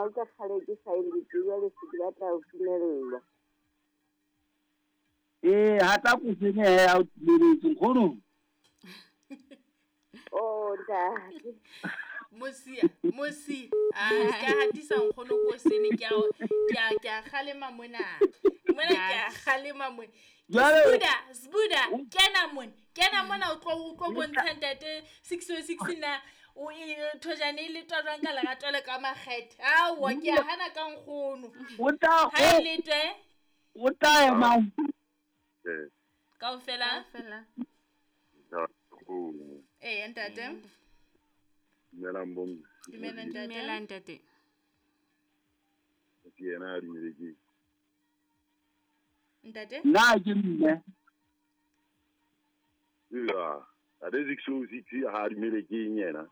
Ke kgale ke sa e letse, jwale se ke batla ho dumellwa. Ee, hata kosene he a o timeletse nkgono. Oh, ntate. Mosia, mosia. A ka hatisa nkgono kosene ke a ke a kgalema mona. Mona ke a kgalema mona. Sbuda, Sbuda, kena mona. Kena mona o tlo bontsha ntate 606 na o e thojane e letwa jwang ka lerato le ka makgethe. Aowa ke a hana ka nkgono. O tla Ha e letwe. O tla ema. Kaofela. Ee, ntate. Dumelang bomme. Dumela ntate. Dumela ntate. Ke yena a dumele ke. Ntate? Nna ke mme. Ya, ntate 606 ha a dumele ke eng yena?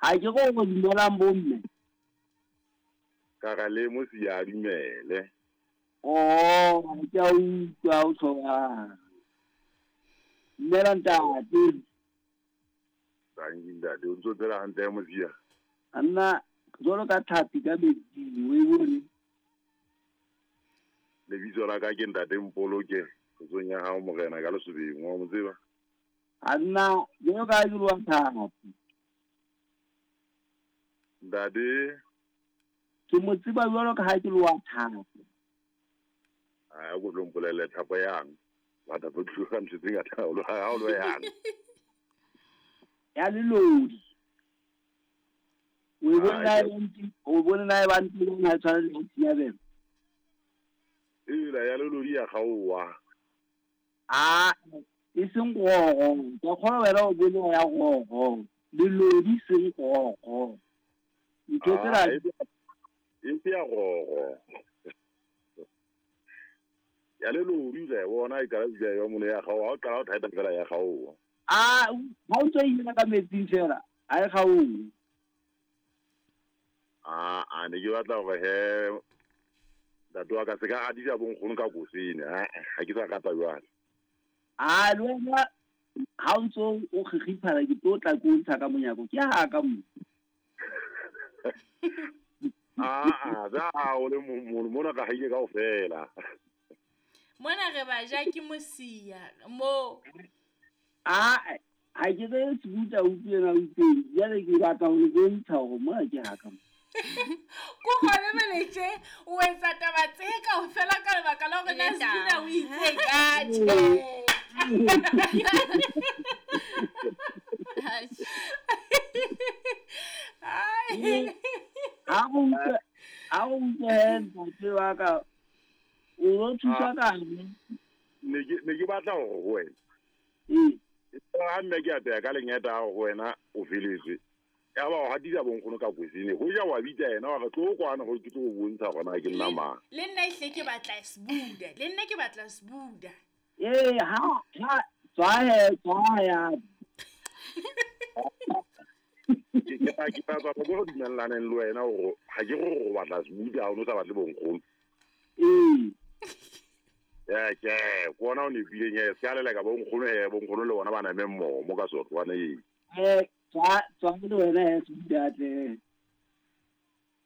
Ha ke go go dumelang bomme. Ka ga le mo si a dumele. Oh, ke a utlwa o tshoga. Dumela ntate. Tangi ntate, o ntso tsela hantle ya mosia. Nna jwalo ka tlhapi ka metsing, o e bone. Lebitso la ka ke ntate Mpoloke, kgotsong ya hao morena ka lesobeng, wa mo tseba? A nna jwalo ka ke lwa tlhapi. Ntate, ke mo tseba jwalo ka ha ke lwa tlhapi. A go tlo mpolelle thapo yang. Batho ba tloga ntho tse ngata ha o lo yang. Ya lelodi. O e bone na e o bone na e ba ntse ha tshwana le Thiabelo. Ela ya lelodi ya gaowa. A e seng gogo, ka kgona wena o bone ya gogo. Lelodi seng gogo. Ntho tsela e se ya gogo. Ya lelodi le bona e ka ja yo mone ya gaowa, o qala o thaeta fela ya gaowa. A ha o ntse ina ka metsing fela, a e gaowe. A ne ke batla hore he ntate wa ka se ka hatisa bonkgono ka kosene, ha ke sa rata jwale. A le wena ha o ntso o kgikgiphala ke tlo tla ke o ntsha ka monyako, ke ha ka mo. A za o le mona ka haike kaofela. Mona re ba ja ke mosia mo. A ha ke tsebe Sbuda utlwe na utlweng, jwale ke batla ho le bontsha hore mona ke ha ka mo. Ko gone meletse o etsa taba tse kaofela ka lebaka la hore na Sbuda o itse ka tjhe. Ha o utlwe ntate wa ka o lo thusa ka eng? Ne ke batla hore ho wena. Ha mme ke apeya ka lengeta ho wena o feletswe. Ya ba o hatisa bonkgono ka kosene. Ho ja wa bitsa yena wa re tlo kwana go ke tlo go bontsha gona ke nna mang. Le nna ehle ke batla Sbuda. Le nna ke batla Sbuda. Ee, ha tswa ya. Ke batla go dumellaneng le wena hore ha ke go go batla Sbuda ha o no sa batle bonkgono. Ee. Ya ke bona o nepileng ya se ka leleka bonkgono he bonkgono le bona ba name mmoho mo ka sotwana ee. Tswa le wena he Sbuda tle.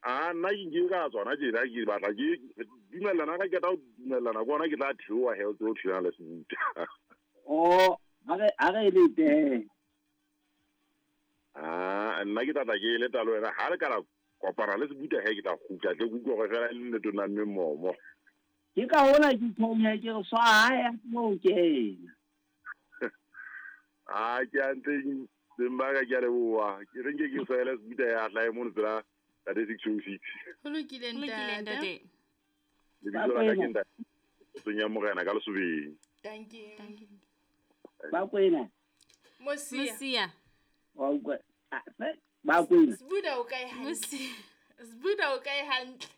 A nna ke ka tsona tjena ke batla ke dumellana ka ke tla dumellana bona ke tla theoha he o tlo thulana le Sbuda. Oh, a re le teng. A nna ke tla ke le talo wena ha le ka la kopana le Sbuda he ke tla kgutla tle ke utlwe hore fela le nne tona mme mmomo. Ke ka hona ke tshwenye ke re swa ha ya mo kena. A ke a ntse beng ba ka ke a leboha. Ke re nke ke swele Sbuda ya tla e mono tsela ntate 606. Ho lokile ntate. Lebitso la ka ke ntate Kgotsong ya morena ka lesobeng. Thank you. Ba kwena. Mosia. Wa utlwa. Ba kwena. Sbuda o kae hantle? Sbuda o kae hantle?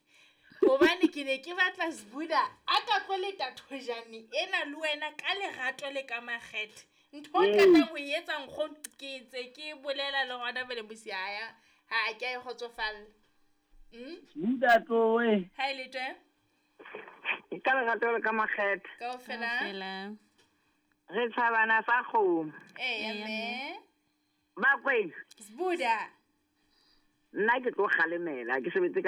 Hobane ke ne ke batla Sbuda a ka tlo leta thojane ena le wena ka lerato le ka makgethe. Ntho e qetang ho e etsa nkgono ke ntse ke bolela le hona pele mosia ya ha ke a e kgotsofalla. Sbuda tloe. Ha e letwe? Ka lerato le ka makgethe. Kaofela. Re tshabana sa kgomo. Ee, mme. Ba kwena. Sbuda. Nna ke tlo kgalemela, ke sebetse ka